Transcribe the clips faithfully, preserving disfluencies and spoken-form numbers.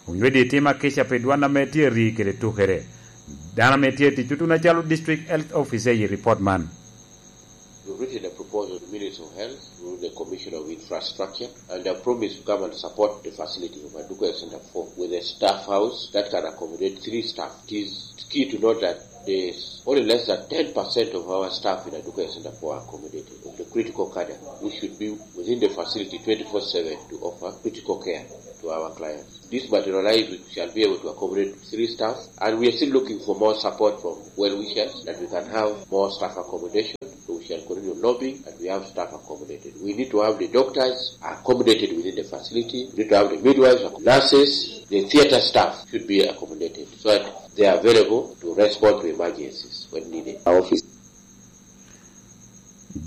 Onywedi timo akica pi dwan ame tye ri kede tukere. Dano ame tye tic tutuno acalo District Health Officer i report man. We've written a proposal to Minister of Health, through the Commissioner of Infrastructure, and I promise to come and support the facility of Aduku Health Center four with a staff house that can accommodate three staff. It is key to note that there's only less than ten percent of our staff in Aduku Health Center four are accommodated, of the critical cadre, which should be within the facility twenty-four seven to offer critical care to our clients. This materialize, we shall be able to accommodate three staff, and we are still looking for more support from well-wishers that we can have more staff accommodation. So we shall continue lobbying and we have staff accommodated. We need to have the doctors accommodated within the facility. We need to have the midwives, nurses, the theater staff should be accommodated so that they are available to respond to emergencies when needed. Our office.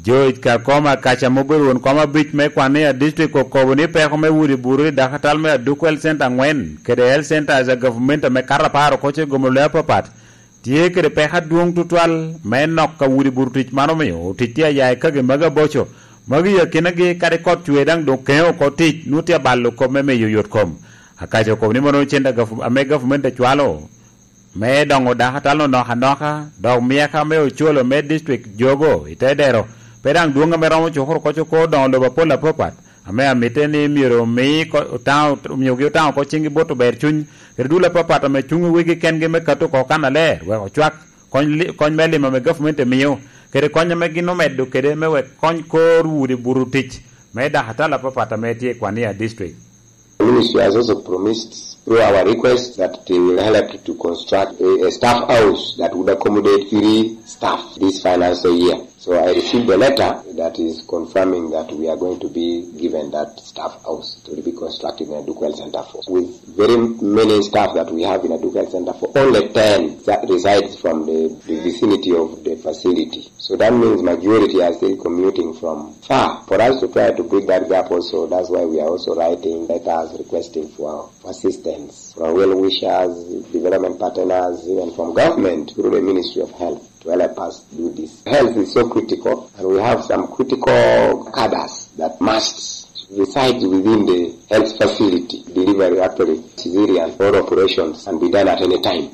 George Kakoma Kaca ma obedo won kom abic me Kwania District okobo ni peko me udi buru i dakatal me Adukwel Center angwen kede Health Centers a gavumenti ame kato apar oko ce gomolo le apapat tye kede peko adwoŋ tutwal me nok ka udi buru tic man omio otic tye aya i kagi magi aboco magi i akinagi kadi kot cwe daŋ doŋ keŋo oko tic nwoŋo tye abalo kop me miyo yot kom. Akaca okobo ni mono cente ame gavumenti ecwalo me doŋo dakatal-nu nok anoka, dok myeka me ocolo me dictrik jogo i te dero pe daŋ dwoŋ ame romo cukuru koc oko doŋo lobo apol apapat, ame amitte ni myero omi ko-, otaŋo, omiogi otaŋo oko ciŋgi bot ober cuny, kede dul apapat ame cuŋ i wegi kengi me kato oko kannaler, wek ocwak kony li-, kony me limo ame gavumenti emio, kede kony ame gin omedo kede me wek kony kor udi buto tic me dakatal apapat ame tye i Kwania District. The ministry has also promised through our request that they will help to construct a, a staff house that would accommodate three staff this financial year. So I received a letter that is confirming that we are going to be given that staff house to be constructed in Adukwel Center four with very many staff that we have in Adukwel Center four. Only ten that resides from the, the vicinity of the facility. So that means majority are still commuting from far. For us to try to bridge that gap also, that's why we are also writing letters requesting for, for assistance from well-wishers, development partners, even from government through the Ministry of Health to help us do this. Health is so critical, and we have some critical cadres that must reside within the health facility delivery, actually, cesarean or operations can be done at any time.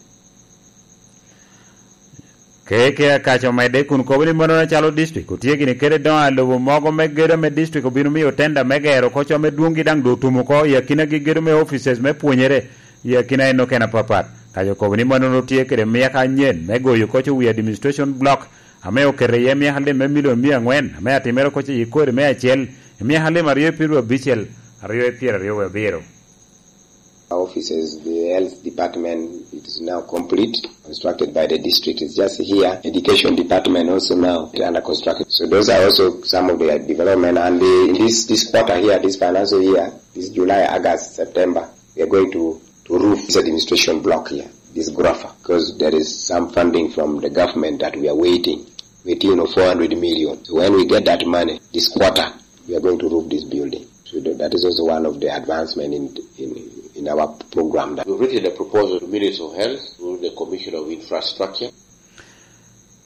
Keke akaco medde kun kobo ni mano calo district otye gini kede doŋ a lobo mogo me gedo me district obino miyo tenda me gero oko co me dwoŋgi daŋ doŋ otum oko i akinagi gedo me offices me pwonyere i akina eno kene apapat. Kaco kobo ni mano tye kede myeka anyen me goyo koco wi administration block ame oketo iye myeka lim me milion mia angwen ame atimere koco i kodi me acel i myeka lim aryo i piru abicel aryo i pyeraryo wie abiro. Offices, the health department, it is now complete, constructed by the district, it's just here. Education department also now under construction. So those are also some of the development. And the, in this, this quarter here, this financial year, this July, August, September, we are going to, to roof this administration block here, this Grofa, because there is some funding from the government that we are waiting. We're waiting on four hundred million. So when we get that money, this quarter, we are going to roof this building. So that, that is also one of the advancement in, in, in our program. We've written a proposal to Minister of Health through the Commissioner of Infrastructure.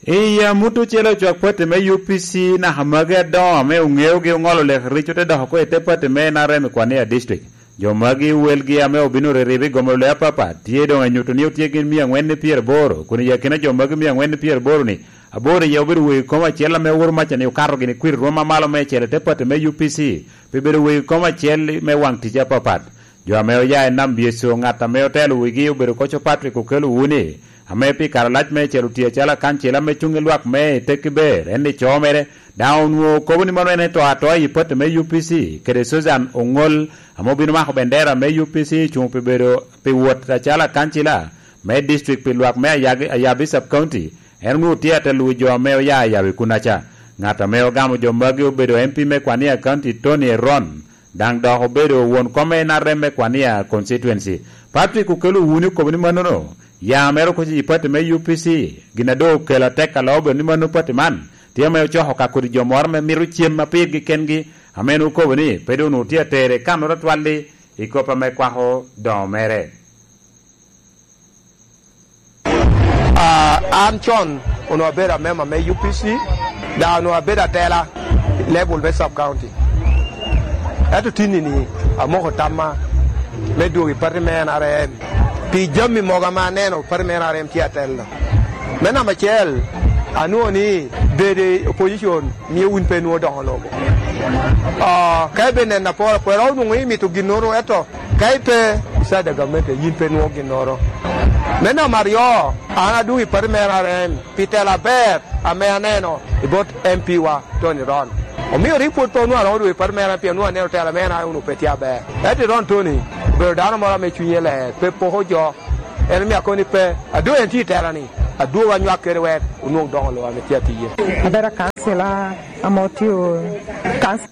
Iya, mut ocele ocwak pati me U P C naka magi adoŋo ame oŋeogi oŋolo lek rico te dok oko i te pati me N R M i Kwania District. Jo magi welgi ame obino riribe i gomolo le apapat tye doŋ anyuto ni otye gin mia angwen ni pyeraboro, kun i akina jo magi mia angwen ni pyeraboro ni, aboro iye obedo wegi kom acel ame oworo maca ni okato gini kwir rwom amalo me acel i te pati me U P C, pi bedo wegi kom acel me waŋ tic apapat. Jo ame oya i Nam Byeco, ŋat ame otelo wigi obedo koco Patrick Okello Wuni, ame pi kare alac me acel otye acalo akancila me cuŋ i lwak me i tekki ber, en ni co mere, daŋ onwoŋo kobo ni mano en eto atoa i pati me U P C, kede Susan Oŋol, ame obino mako bendera me U P C cuŋ pi bedo pi wot acalo akancila me district pi lwak me Ayagi-, Ayabi Sub County, en onwoŋo tye ate luwo jo ame oya Ayabi kunnaca. Ŋat ame ogamo jo magi obedo M P me Kwania County, Tony Eron, daŋ dok obedo won kom me N R M me Kwania Constituency. Patrick Okello Wuni okobo ni mannono, ya mere okoco i pati me U P C, gin a doŋ okelo atek alo obedo ni mano pati man tye ame ocoko ka kodi jo moro ame mito cem ma pirgi kengi, ame en okobo ni pe doŋ onwoŋo tye atere kannoro atwal-li i kop ame kwako doŋo mere. Ah, an con onwoŋo abedo amemba me U P C, daŋ onwoŋo abedo atela i level me sub county. Ento tinni-ni amoko tamma me dwogo i pati me N R M pi jami mogo ame aneno pati me N R M tye atelo. Me namba acel, anwoŋo ni bedo i opposition mio wun pe nwoŋo doŋo lobo. Ah, ka ibe neno apol, kwero onwoŋo imito ginnoro, ento ka ipe, isada gamente, yin pe nwoŋo ginnoro. Me namba aryo, an adwogo i pati me N R M pi tela aber ame aneno i bot M P wa, Tony Ron. Omio rik pwod pe onwoŋo aromo dwogo i pati me N R M pien onwoŋo aneno tela me N R M onwoŋo pe tye aber. Ento Ron Tony obedo dano moro ame cunye ler, pe poko jo. En omio akobo ni pe, adwogo en tye i tela-ni, adwogo anywak kede wek onwoŋ doŋo lobo ame tye atiye. Abedo akancila ame otio kanc-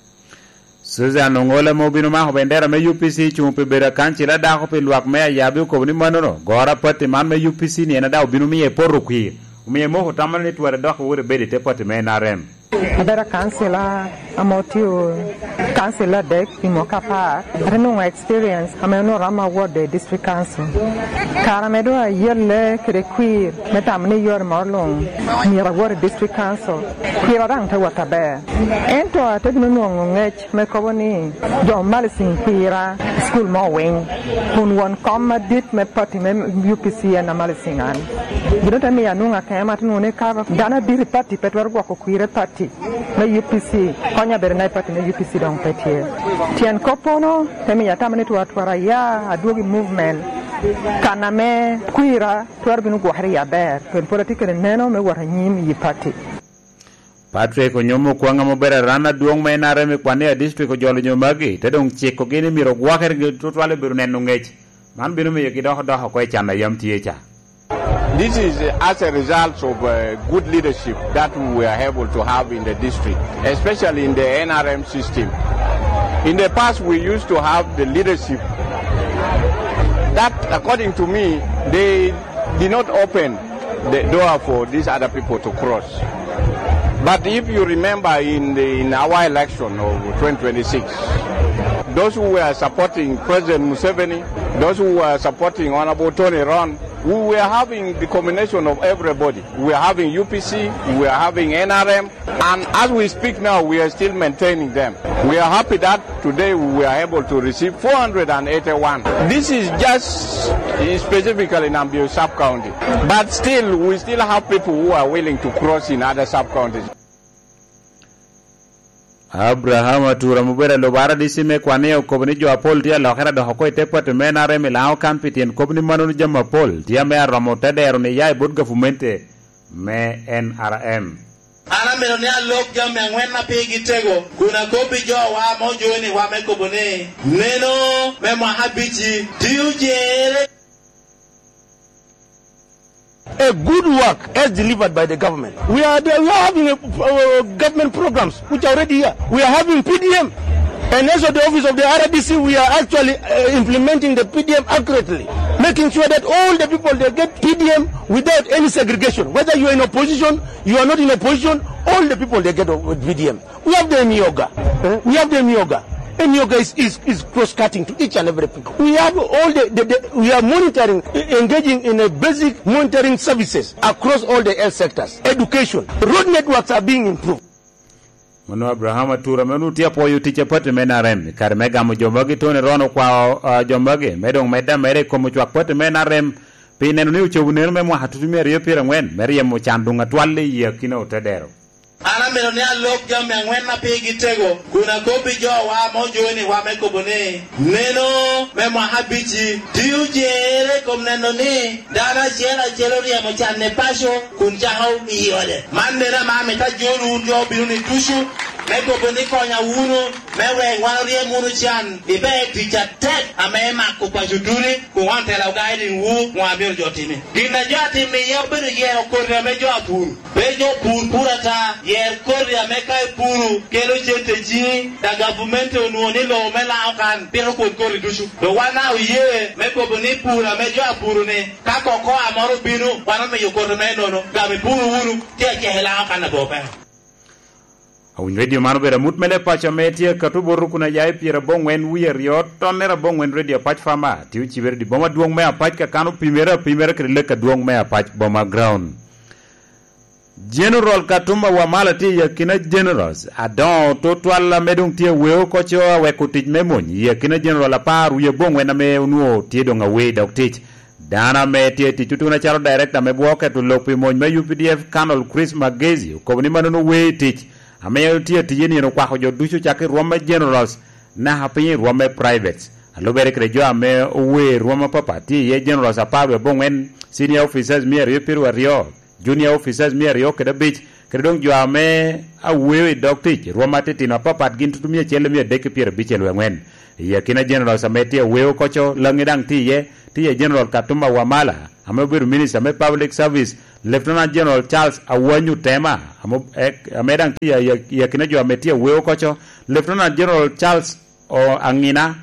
Susan Oŋol ame obino mako bendera me U P C cuŋ pi bedo akancila dako pi lwak me Ayabi okobo ni mannono goro a pati man me U P C ni en a daŋ obino miyo epoto kwir, omio emoko tamma ni twara dok iwot ibed i te pati me N R M. Abedo akancila ame otio kancila adek pi mwaka apar. Ate nwoŋo experience ame onwoŋo romo award i district council. Kare ame doŋ ayelle kede kwir me tamo ni yore moro luŋ myero awot i district council, kwira daŋ te wot aber. Ento ate bino nwoŋo ŋec me kobo ni jo Malisiŋ kwira i cukul me Owiny, kun won kom madit me pati me U P C en a Malisiŋ an. Gin te miyo anwoŋo akemo, ate nwoŋo ni ka dano adit i pati pe twero gwoko kwira i pati me U P C, konya bedo na i pati me U P C doŋ pe tye. Tyen koppono te miyo atamo ni twara twara aya adwog i movement kan ame kwira twero bino gwokere iye aber, pien pwod atye kede neno me wot anyim i pati. Patrick Onyomo Okwaŋ ame obedo aran adwoŋ me N R M i Kwania District ojolo jo magi, te doŋ cikogi ni myero ogwokere tutwal i bedo neno ŋec. Man bino miyogi dok odok oko i can a yam tye ca. This is, uh, as a result of, uh, good leadership that we were able to have in the district, especially in the N R M system. In the past, we used to have the leadership that, according to me, they did not open the door for these other people to cross. But if you remember in the, in our election of twenty twenty-six, those who were supporting President Museveni, those who were supporting Honorable Tony Ron, we were having the combination of everybody. We were having U P C, we were having N R M, and as we speak now, we are still maintaining them. We are happy that today we were able to receive four hundred and eighty-one. This is just specifically in Nambio sub-county. But still, we still have people who are willing to cross in other sub-counties. Abraham Atura ame obedo alubo R D C me Kwania okobo ni jo apol tye alokere dok oko i te pati me N R M i Laŋo kan pi tyen kop ni mannono jami apol tye ame aromo te dero ni ya i bot gavumente me N R M. An amito ni alok jami aŋwen a pigi tego, kun akobbi jowa ame ojoni wa me kobo ni, neno me mwaka abic-ci tye ojerre. A good work as delivered by the government. We are, we are having a, uh, government programs which are already here. We are having P D M. And as of the office of the R D C, we are actually, uh, implementing the P D M accurately, making sure that all the people, they get P D M without any segregation. Whether you are in opposition, you are not in opposition, all the people, they get P D M. We have the Emyooga. Eh? We have the Emyooga. Emyooga is, is, is cross-cutting to each and every people. We have all the, the, the, we are monitoring, e-, engaging in a basic monitoring services across all the health sectors. Education, road networks are being improved. Mano Abraham Atura, mano tye apwoyo tic a pati me N R M. Kare me gamo jo magi, Tony Ron okwao, ah, jo magi me doŋ medde ameda i kom ocwak pati me N R M, pi neno ni ocobo neno me mwaka tutumia aryo pyerangwen me ryemo can doŋ atwal i akina otedero. An amito ni alok jami aŋwen a pigi tego, kun akobbi jowa ame ojoni wa me kobo ni, neno me mwaka abic-ci tye ojerre i kom neno ni dano acel acel oryemo can i paco kun cako i ode. Man neno ame amito ajol wun jo obino ni ducu, me kobo ni konya wunu, me wek wan oryem wunu can i ber tic atek ame emako paco ducu, kun wan tela ogaiding wu, wan amito jo timi. Gin a jo atim iye obedo yero koti ame jo apuro. Pe jo pur pur ata, yer koti ame ka ipuro kelo cente i ciŋi, da gavumenti onwoŋo ni lobo me Laŋo kan pito kwon koti ducu. Dok wan daŋ oye me kobo ni pur ame jo apuro-ni, ka koko a moro obino, wan omiyo koti me nono, gam ipuro wunu, tye acek i Laŋo kan labongo peko. Awiny redio man obedo amut me leb paco ame tye ka tubo rukun aya i pyeraboŋwen wie aryo, tonnere aboŋwen redio Apac Fama, tye ocibere i boma adwoŋ me Apac ka kan opimere apimere kede lek adwoŋ me Apac Boma Ground. General Katumba Wamala tye i akina Generals adoŋo tutwal ame doŋ tye aweo oko co aweko tic me mony i akina General apar wie aboŋwen ame onwoŋo tye doŋ awe i dog tic. Dano ame tye i tic tutuno acalo Director me bwo keto lok pi mony me U P D F, Colonel Chris Magezi, okobo ni mano owe i tic ame tye atic i nino okwako jo ducu cakki i rwom me Generals naka piny i rwom me Privates. A lubere kede jo ame owe i rwom apapat, tye iye Generals apar wie aboŋwen, Senior Officers mia aryo pieraryo, Junior Officers mia aryo kede abic, kede doŋ jo ame aweo i dog tic, rwom atitino apapat gin tutu mia acel mia adek ki pyerabicel wie aŋwen. I akina Generals ame tye aweo oko co, Laŋi daŋ tye iye, tye iye General Katumba Wamala, ame obedo Minister me Public Service, Lieutenant General Charles Awanyu Tema, ame, ame daŋ tye i, i akina jo ame tye aweo oko co, Lieutenant General Charles O Aŋina,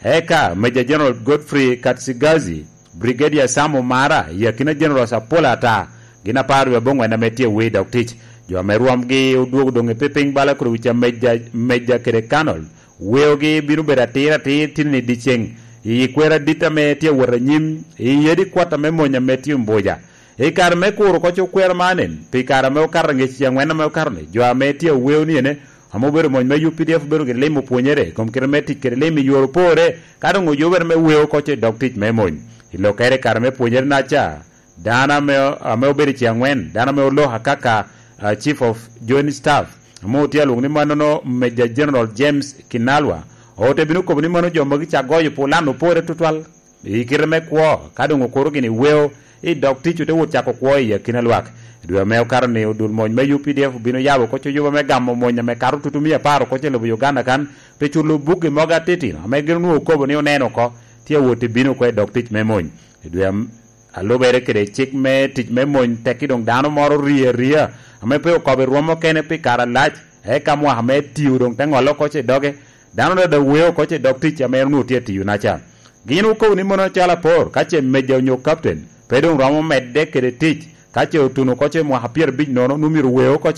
eka Major General Godfrey Katsigazi, Brigadier Sam Omara, i akina Generals apol ata, gin apar wie aboŋwen ame tye aweo i dog tic. Jo ame rwomgi odwogo doŋ i piny bala kede wica meja, meja kede kanol, weogi bino bedo atir atir tini i dyeceŋ, i kwero adit ame tye awot anyim, i yedi kwat ame mony ame tye ombuja. I kare me kuro oko co kwero man en, pi kare ame okato aŋec i aŋwen ame okato-ni, jo ame tye aweo ni ene, ame obedo mony me U P D F obedo gire limo pwonyere i kom kite me tic kede lim i yore opore, ka doŋ oyubere me weo oko co i dog tic me mony. I lokkere i kare me pwonyere naca, dano ame, ame obedo i ce aŋwen, dano ame oloko akaka, ah, Chief of Joint Staff, ame otye alwoŋo ni manono Major General James Kinalwa, ote bino kobo ni mano jo magi ca goyo pulan opore tutwal. I kite me kwo, ka doŋ okuro gini weo, i dog tic ote wot cako kwo i akina lwak. I dwe ame okato-ni, odul mony me U P D F obino yabo oko coyoba me gamo mony ame kato tutu mia apar oko i lobo Uganda kan, pi culo buggi mogo atitino ame gin onwoŋo okobo ni oneno oko, tye awot i bino oko i dog tic me mony. I dwe am-, a lubere kede cik me tic me mony, tekki doŋ dano moro rie aria, ame pe okobo i rwom okene pi kare alac, eka mwaka me tiyo doŋ te ŋolle oko i doge, dano dada weo oko i dog tic ame en onwoŋo tye atiyo naca. Gin okobo ni mono calo apor, ka ce meja onyo captain, pe doŋ romo medde kede tic, ka ce otuno oko i mwaka pyerabic nono, onwoŋo myero weo oko,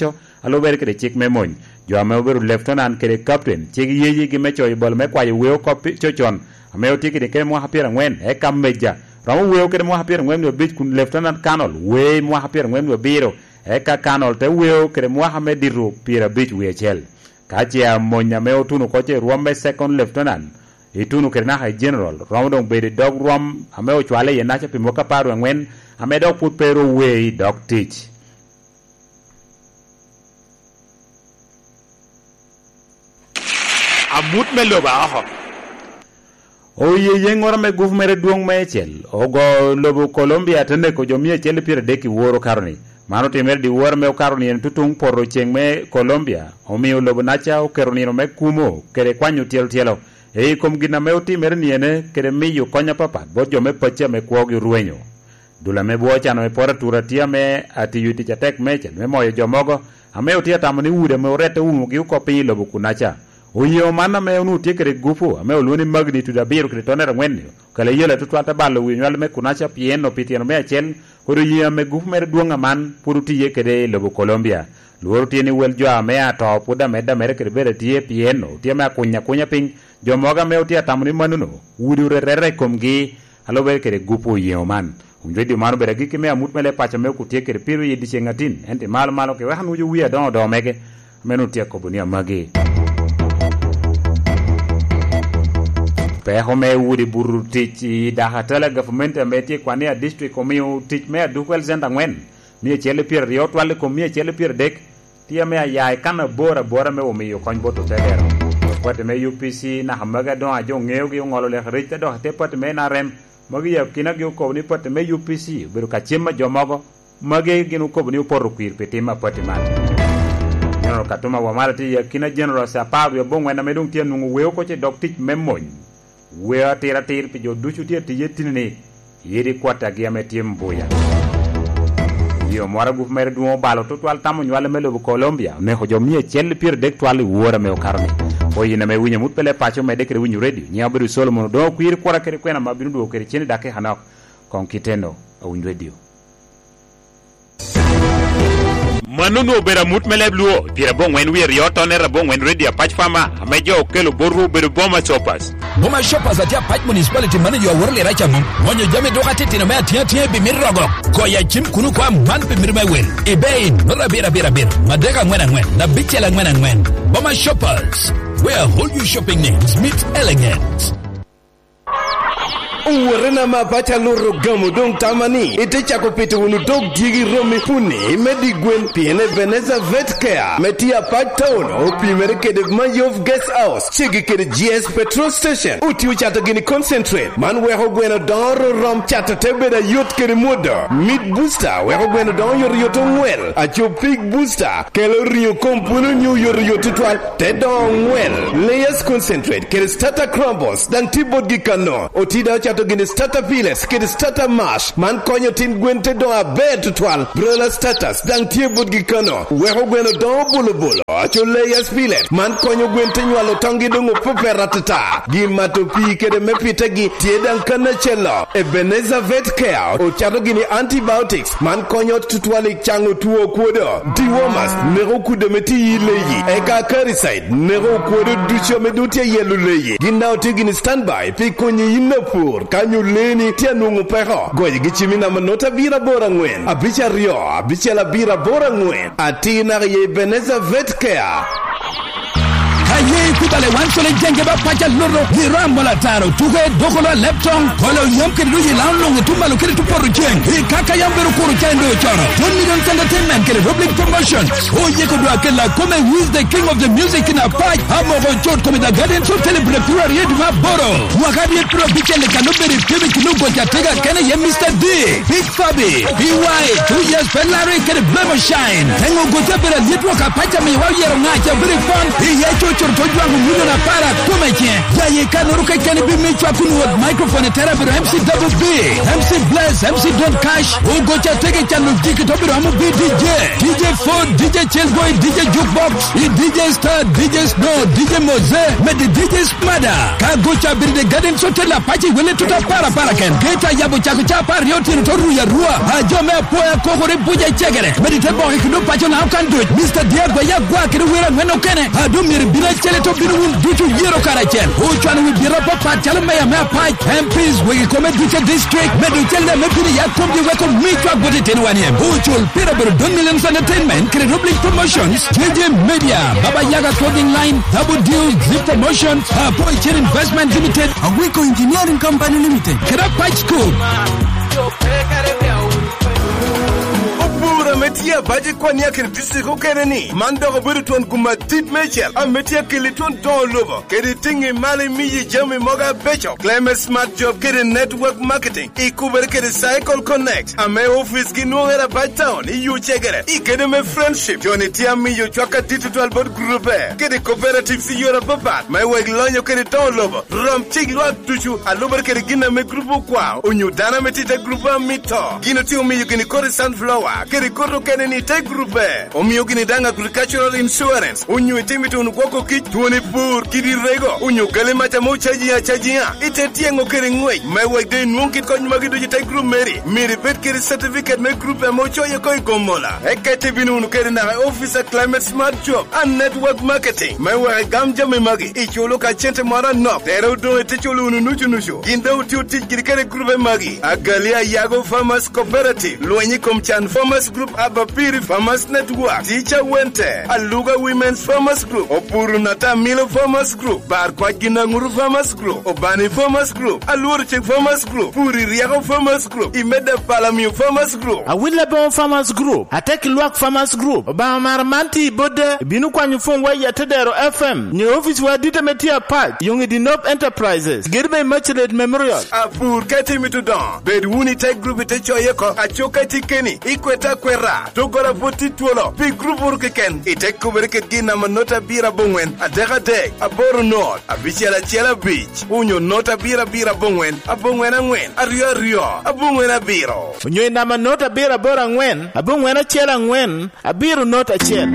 a lubere kede cik me mony. Jo ame obedo lieutenant kede captain, cik yeyigi me coyo bal me kwayo weo oko pi-, cocon, ame otye kede kede mwaka pyeraŋwen, eka meja, romo weo kede mwaka pyeraŋwen wie abic, kun lieutenant colonel weo i mwaka pyeraŋwen wie abiro, eka colonel te weo kede mwaka me dito pyerabic wie acel. Ka ce amony ame otuno oko i rwom me second lieutenant, ituno kede naka i general, romo doŋ bedo i dog rwom ame ocwale iye naca pi mwaka apar wie aŋwen, ame dok pwod pe ru owe i dog tic. Amut me lobo aoko. Oye yeŋŋoro me gupu mere dwoŋ meicel, ogo lobo Colombia te neko jo mia acel i pyeradek i woro karoni. Man otimere dyewor ame okato nino tutuŋ poto ceŋ me Colombia, omio lobo naca oketo nino me kumo kede kwanyo tyelo tyelo i kom gin ame otimere niyene kede miyo kony apapat bot jo me pacci ame kwogi orwenyo. Dul ame bwo ocano me poto atura tye ame atiyo i tic atek meicel me moyo jo mogo ame otye atamo ni udi ame orette oumogi oko piny i lobo kunaca. Oyeŋo man ame onwoŋo tye kede gupu ame olwoŋo ni magnitude abiro kede tonere aŋwen-ni, okelo ayela tutwal te balo wi onywal me kunaca pien opi tyeno me acel, kodi oyeŋo ame gupu mere dwoŋ aman pwod otiye kede i lobo Colombia. Lworo tye ni wel jo ame ato pwod amedde ameda kede bedo atye pien otye ame akuny akunya piny. Jo mogo ame otye atamo ni manono, udi orerere i komgi, a lubere kede gupu oyeŋo man. Wun redio man obedo agikki me amut me leb paco me okutye kede piro i dyeceŋ atin, ento i malo malo ki wek anwoco wi adoŋo odoŋo mege, ame onwoŋo tye akobo ni amagi. Peko me udi buto tic i Dakatala gavumenti ame tye i Kwania district omio tic me Aduku Health Center aŋwen, mia acel i pyeraryo otwal i kom mia acel i pyeradek, tye ame aya i kan abor abora me omiyo kony bot otelero. Pati me U P C naka magi adoŋo ajo ŋeogi oŋolo lek rec te dok i te pati me N R M, magi i akinagi okobo ni pati me U P C obedo ka cem a jo mogo, magi gin okobo ni opoto kwir pi tim a pati man. General Katuma Wamala tye i akina Generals apar wie aboŋwen ame doŋ tye anwoŋo weo oko i dog tic me mony. Weo atir atir pi jo ducu tye atiye tini-ni, yedi kwat agi ame tye mbuya. Yo moro agup mere dwoŋ obalo tutwal tamo nywale me lobo Colombia, oneko jo mia acel i pyeradek twal i wora me okato-ni. Oyin ame winyo mut pele paco medde kede winyo redio, nyiŋa obedo Solomon Odoŋo Kwiri, kwora kede kwena ma bino dwogo kede cen i dakika nok. Koŋ kiteno, awiny redio. Mano onwoŋo obedo amut me leb Luo, pyerabongwen wie aryo tonere abongwen Radio Apac Fama, ame jo okelo botwu obedo Boma Shoppers. Boma Shoppers atye apac municipality man i yo aworo liraca mom. Gonyo jami dok atitino me atiŋa atiŋa i bimit rogo. Goyo acim kun okwa man pi mito me wil. Ibe in, nota abiro abiro abiro, madek angwen angwen, abicel angwen angwen. Boma Shoppers, where all your shopping needs meet elegance. Owotena ma paco aluro gamo doŋ tama ni ite cako pito wunu dog dyegi romi puni me di gwen, pien Ebenezer Vet Care me tye apac town opimere kede Mayov Guest House, ceggi kede G S Petrol Station. Otio cato gini concentrate, man weko gweno doŋo rom cato te bedo ayot kede mwodo. Meat Booster weko gweno doŋo yot yot oŋwel. Aco Pig Booster kelo riŋo kom pwolo nyo yot yot tutwal, te doŋo oŋwel. Layers Concentrate kede Starter Crumbles daŋ tye botgi kano. Oti daŋ ocato gini Starter Pellets kede Starter Mash, man konyo tin gwen te doŋo aber tutwal. Broiler Starters daŋ tye botgi kano, weko gweno doŋo bolo bolo. Aco Layers Pellet, man konyo gwen te nywalo toŋgi doŋ opepet atata. Gin mato pii kede me pitegi tye daŋ kan acel-lo. Ebenezer Vet Care ocato gini antibiotics, man konyo tutwal i caŋo two kwodo. Dewormers neko kudde ame tye i leyi, eka Acaricide neko okwodo ducu ame doŋ tye ayelo leyi. Gin daŋ otye gini standby pi konyi yin apur ka nyo leeni tye anwoŋo peko. Goyogi cim i namba nota abiro aboro aŋwen, abic aryo, abicel abiro aboro aŋwen. Atir naka i Ebenezer Vet Care. Ka ye ikubale wan cole jenge ba paca loto, i ram mola taro, tuke, dokolo, aleptong, kolo yam kede luyi lao longo tumalo kede tupoto ceng. I kaka yam bedo kuro ca endo cono. John Millions Entertainment kede Roblin Promotion. Oyeko dwa kela kome, who is the king of the music in Apac? Amoko Chot Comedy Gardens Hotel i Bulebulu aryo dwe me aboro. Mwaka aryo piro abicel i kano bedo i pim i kilo goca tega kene ye Mister D. Big Fabi, B Y, two years Ferrari kede Blemo Shine. Engo gote bedo alyet wok apac amiwa oyero ŋaca bedo i pon. Iye cucur to jwaŋo milion apar akome ce. Jaye kanoro keken bi mi cwak kun wot microphone i tera bedo M C Double B, M C Bless, M C Don Cash. Ogoca tege calo jiki to bedo amo bi D J. D J Ford, D J Chelboy, D J Jukebox, i D J Star, D J Snow, D J Moze, medi D J Mada, ka goca abiro de Garden Hotel apac i wele tuta para para ken. Geta yabo cako ca apar aryo otyeno to ruya rua. A jo me apoya kokore buja cegere. Medi te boke kendo paco na okan duc. Mister Diego ya gwa kede wero angwen okene. A do myero bino acel to bino wun ducu yero karacel. Ocwano wi bira papat calo meya me apac, M Ps, wegi kome ducu district. Medo cel me bino ya komgi weko mi cwak bot itino wan iem. Ocul pira bedo Don Millions Entertainment kede Roblin Promotions, J J Media, Baba Yaga Clothing Line, Double Deal, Zip Promotions, Apoy Chain Investment Limited, Awiko Engineering Company Limited, kede Apac School. Obura me tye abac i kwan ya kede district okene ni, man dok obedo twon gum adit mecel, ame tye akeli twon doŋo lobo, kede tiŋi malo imiyi jami mogo abeco, Climate Smart Job kede Network Marketing. Ikubere kede Cycle Connect, ame ofice gi nwoŋere Apac Town i yo cegere, i kede me Friendship. Joni tye amiyo cwak adit tutwal bot grupe, kede cooperatives i yore apapat, me wek lonyo kede toŋo lobo. Rom cik lwak ducu, alubere kede gin ame grupe okwao, onyo dano ame tye i te grupe amito. Gin otye omiyo gini kodi sunflower, kede kodi okene ni i te grupe. Omio gini daŋ agricultural insurance, onyo itimo ituno gwoko kic, twoni pur, kidi rego, onyo gali mac ame ocaji acajiŋa, ite tyeŋo kede ŋwec, me wek doŋ inwoŋ kit kony magi ducu i te grup meri. Myero ibed kede certificate me grup ame ocoye oko i Gomola. Eka ite bino wunu kede naka i office a Climate Smart Job and Network Marketing, me wek igam jami magi, iculo ka cente moro anok, tere odoŋ ite culo wunu nucu nucu. Gin doŋ otio tic giri kede grupe magi, Agali Ayago Farmers Cooperative, Lweny i kom Can Farmers Group, Abapiri Farmers Network, Teacher Wente, Aluga Women's Farmers Group, Opuru Natamilo Farmers Group, Bar Kwac Ginaŋuru Farmers Group, Obani Farmers Group, Alworo Cik Farmers Group, Puri Ryeko Farmers Group, Imeda Palamio Farmers Group. Awil Aboŋo Farmers Group, Atek Lwak Farmers Group, Obaŋa Mara man tye i Bodde, ibino kwanyo pwonywa i Atedero F M, nyo ofice wa adit ame tye apac, Yoŋ i Dinop Enterprises, giri me Immaculate Memorial. Apur ka itimo itudoŋo, bed wunu i te grup ite coye oko, aco ka itye keni, ikwete akweta, doggola pwod tye twolo, pi grup wunu keken, ite kubere kede gin namba not abiro aboŋwen, adek adek, aboro not, abicel acel abic, onyo not abiro abiro aboŋwen, aboŋwen angwen, aryo aryo, aboŋwen abiro. Onyo i namba not abiro aboro angwen, aboŋwen acel angwen, abiro not acel.